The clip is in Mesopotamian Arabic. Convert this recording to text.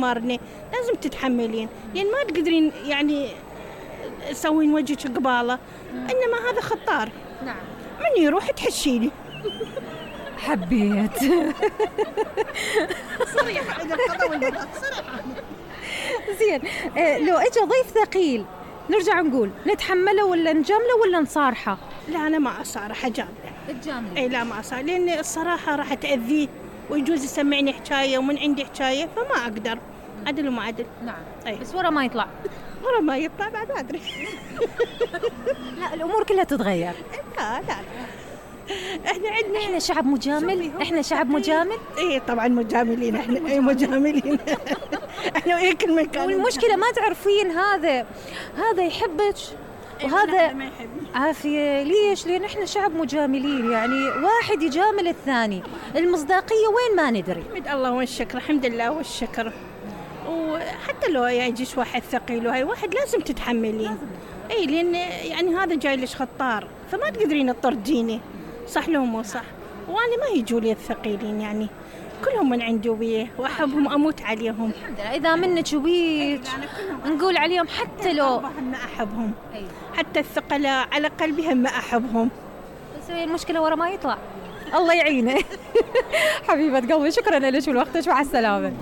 تمارني، لازم تتحملين، لأن ما تقدرين يعني تسوين وجهك قبالة، إنما هذا خطار. نعم. من يروح تحشيني. حبيت. صريحة إذا القضاء والبراءة صريحة. زين، لو اجى ضيف ثقيل نرجع نقول نتحمله ولا نجامله ولا نصارحه؟ لا أنا ما أصارح، أجامله. تجامله؟ إيه لا ما أصارح، لأن الصراحة راح تأذيه ويجوز يسمعني حكاية ومن عندي حكاية، فما أقدر. عدل وما عدل. نعم. أي. بس ورا ما يطلع. ورا ما يطلع بعد ما أدري. لا الأمور كلها تتغير. لا احنا شعب مجامل. احنا شعب مجامل. ايه طبعا مجاملين احنا. ايه مجاملين. احنا ايه كل مكان. والمشكلة ما تعرفين هذا يحبك وهذا ما يحبني. عافية. ليش؟ لأن احنا شعب مجاملين، يعني واحد يجامل الثاني. المصداقية وين ما ندري. حمد الله والشكر، الحمد لله والشكر. وحتى لو يجيش واحد ثقيل وهي واحد لازم تتحملين. اي لأن يعني هذا جاي لش خطار، فما تقدرين تطرديني. صح لو مو صح؟ وانا ما يجوا لي الثقيلين، يعني كلهم من عندي وبيه واحبهم اموت عليهم. الحمد لله. اذا منك وبيك نقول عليهم حتى لو ما احبهم. حتى الثقلاء على قلبي هم احبهم. بس هي المشكله ورا ما يطلع. الله يعينه. حبيبه قلبي، شكرا لك ولوقتك، مع السلامه.